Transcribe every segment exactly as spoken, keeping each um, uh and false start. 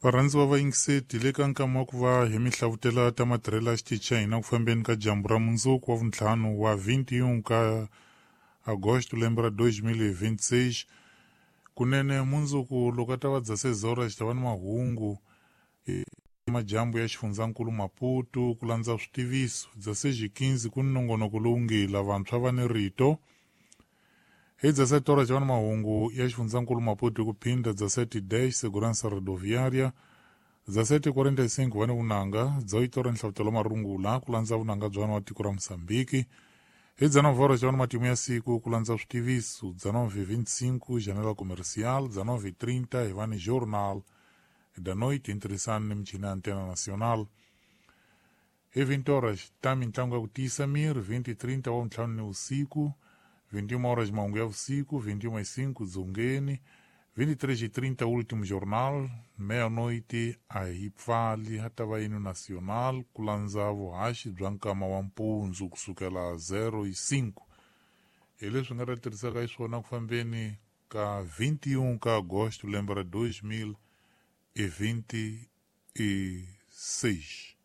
Varhandziwa va yingiseti le ka nkama wa ku va hi mi hlavutela ta matirhelo ya xitichi xa hina ku fambeni ka dyambu ra mundzuku wa vuntlhanu wa vinte e um ka agosto lembe ra dois mil e vinte e seis. Kunene mundzuku loko a ta va dezesseis horas xi ta va ni mahungu madyambu ya xifundzankulu Maputo ku landza switiviso. Dezesseis e quinze ku ni nongonoko lowu nge lavantshwa va ni rito. Hi dezessete horas va ni mahungu ya xifundzankulu Maputo hi ku phinda dezessete e dez Segurança Rodoviária, dezessete e quarenta e cinco va ni vunanga, dezoito horas nhlavutelo wa marungula ku landza vunanga bya wa tiko ra Mozambique. Hi dezenove horas va ni matimu ya siku ku landza switiviso, dezenove e vinte e cinco Janela Comercial, dezenove e trinta hi va ni Jornal da Noite interessante ni michini ya Antena Nacional. Hi vinte horas ta mintlangu ya ku tiyisa miri, vinte e trinta wa ntlhanu ni vusiku, vinte e uma horas mahungu ya vusiku, vinte e uma e cinco dzongeni, vinte e três e trinta último jornal, meia-noite a hi pfali ha ta va yini nacional ku landza vuhaxi bya nkama wa mpundzu kusukela zero e cinco. Hi leswi nga ta tirhisaka xiswona ku fambeni ka vinte e um ka agosto lembe ra dois mil e vinte e seis.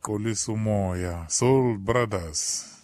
Xolisa umoya, Soul Brothers.